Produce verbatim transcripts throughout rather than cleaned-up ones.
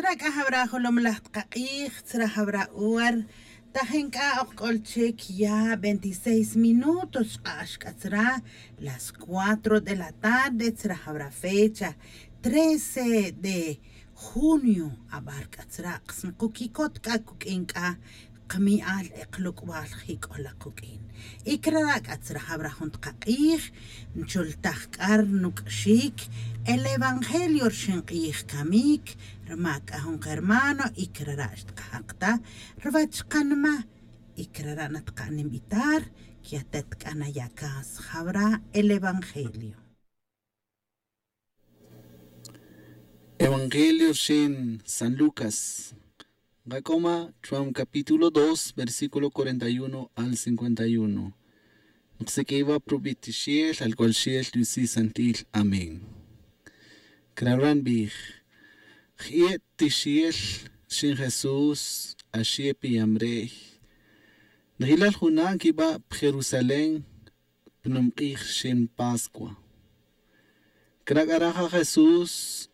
Tzra' c'a jawra jolomlaj tkak'ij, tzra' jawra hora. Tajen c'a ok c'ol chic ya veintiséis minutos xk'ax c'a tzra' las cuatro de la tarde, tzra' jawra fecha trece de junio. Abar c'a tzra' ksnkuquicot c'a cuq'uin c'a kmi'al e kluk'bal jic'ola kuq'uin. Y crara' c'a tzra' jawra jun tkak'ij nchultaj c'a rnuc'xic el evangelio rxin k'ij camic, rma c'a jun kermano y crara' xtkajak ta rwech kanma. Y crara' natka'n invitar que atet c'a naya' cas jawra el evangelio. Evangelio rxin san Lucas. Nkac'oma chuam capítulo dos, versículo cuarenta y uno al cincuenta y uno. Nksiq'uiwa' pa rub'i' tixiel, al cual xiel yusi' santil. Amén. Crabra' nbij: Jie' tixiel rxin Jesús, axie' piyam re'y, njilal juna' nquiba' pa Jerusalén pa numk'ij rxin Pascua. Cra' c'a re ja Jesús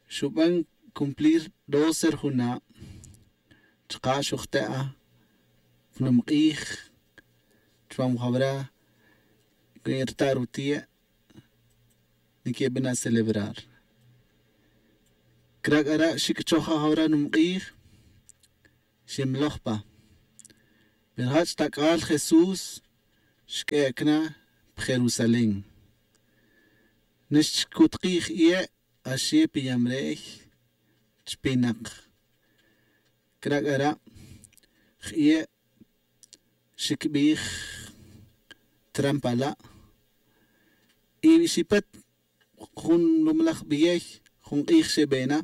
xuben cumplir doce rjuna', chuka' xujte'a pa numk'ij chuam jawra rta' rutie' niquebana' celebrar. Cra' c'a re xic'choj ja jawra numk'ij, ximloj pa. Pero jach' tac'al Jesús xq'uec' na pa Jerusalén. Nixchcutkij jie' axie' piyam re'y chpinak. Cra' c'a re jie' xicbij trampala'. Y xipet jun lumlaj beyey jun k'ij xebena.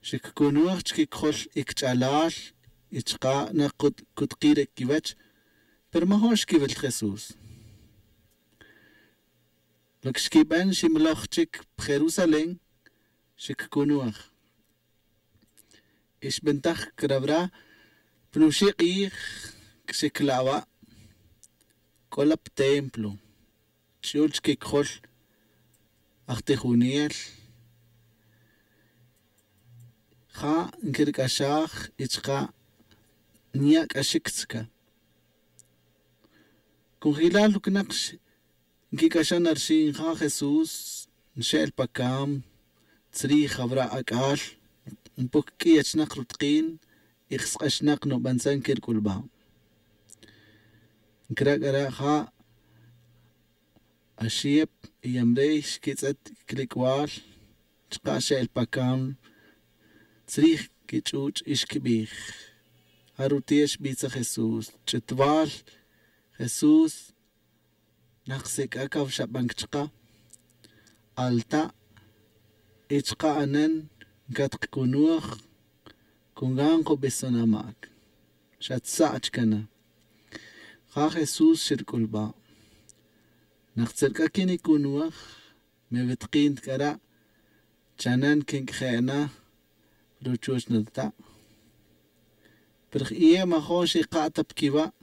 Xiccunuj chiquicojol i quich'alal y chuka' nak cutki' re quiwech, pero majun xquiwil ta Jesús. Lo que xquiben ximloj chic pa Jerusalén, xiccunuj. Y xbentaj crawra pa nuxi' k'ij xicla' wa', c'o la pa templo, ch'ul chiquicojol aj tijunel. Ja' nquirc'axaj y chuka' nya' c'axic chica. Con jilal ucnak nquic'axan na rxin ja Jesús, nxe'el pa cam tzrij jawra ac'al, npuc q'uiy achnak rutik'in y ksk'axnak nubantzan quirc'ulba'. Ncra' c'a re ja, axip y yamrey xquitz'et quilic'bal, chuka' xe'el pa cam tzrij quich'uch' y xquibij: Ja rutie' xbitza Jesús. Ch'utbal Jesús, nak sic'a cawxaban chka, alta' y chka anen ncatkacunuj, con gan kubison amac. Xatza'ch cana. Ja Jesús xirc'ulba': Nak tzerc'a quinicunuj, me witikint c'a re, chanen quinc'je' na ruchuch natata'. Pero jie' majun xika' ta pa quiwa'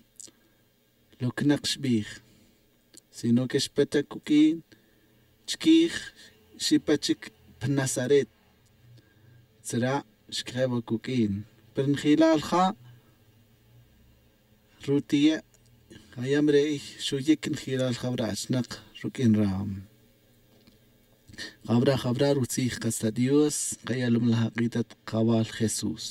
lo que nak xbij, sino que xpet ta cuq'uin chiquij, xipet chic pa Nazaret. Tzra' xquije' wa cuq'uin, pero njilal ja rutie' ja yamrey xuyic njilal jawra achnak ruq'uin ram. Jawra jawra rutzij kasta Dios, kayalom laj ak'itat kawal Jesús.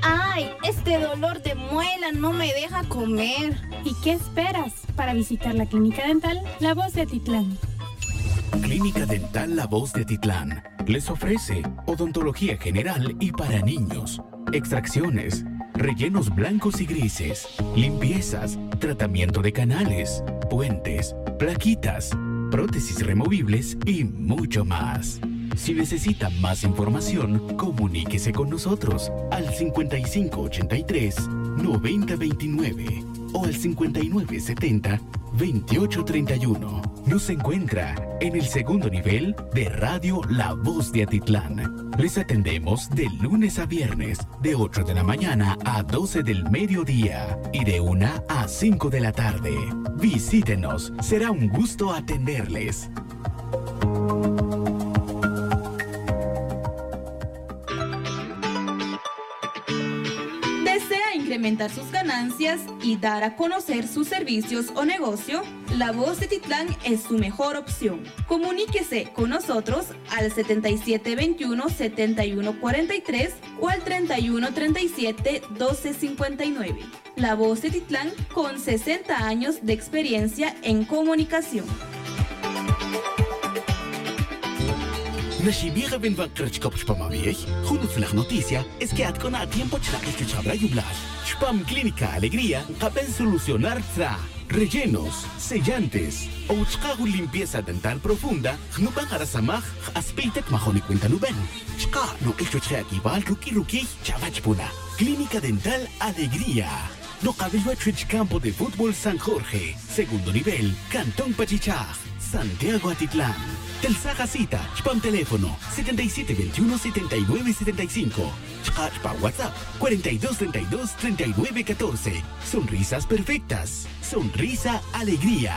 Ay, este dolor de muela no me deja comer. ¿Y qué esperas para visitar la clínica dental La Voz de Atitlán? Clínica Dental La Voz de Atitlán les ofrece odontología general y para niños, extracciones, rellenos blancos y grises, limpiezas, tratamiento de canales, puentes, plaquitas, prótesis removibles y mucho más. Si necesita más información, comuníquese con nosotros al cincuenta y cinco ochenta y tres, noventa veintinueve o al cincuenta y nueve setenta, Veintiocho treinta y uno. Nos encuentra en el segundo nivel de Radio La Voz de Atitlán. Les atendemos de lunes a viernes, de ocho de la mañana a doce del mediodía y de una a cinco de la tarde. Visítenos, será un gusto atenderles. ¿Desea incrementar sus ganancias y dar a conocer sus servicios o negocio? La Voz de Titlán es su mejor opción. Comuníquese con nosotros al setenta y siete veintiuno, setenta y uno cuarenta y tres o al treinta y uno treinta y siete, doce cincuenta y nueve. La Voz de Titlán, con sesenta años de experiencia en comunicación. Naxibij awenwa kre chkop chupam awi'ey. Jun utzilaj noticia es que at k'o na atiempo chnak'ix chuwech jabra yublal. Chupam Clínica Alegría nkaben solucionar tzra, rellenos, sellantes, o chka jun limpieza dental profunda. Jnuben jara samaj, j-aspey tet majun nik' wenta nuben. Chka' nok'ix chuwech je' akibal ruk'i' rukiy chawech puna. Clínica Dental Alegría. Nokawil wach chuwech campo de fútbol San Jorge, segundo nivel, cantón Pachichaj, Santiago Atitlán. Telsa ja cita chupam teléfono setenta y siete veintiuno, setenta y nueve setenta y cinco. Chka' chupam WhatsApp cuarenta y dos treinta y dos, treinta y nueve catorce. Sonrisas perfectas. Sonrisa Alegría.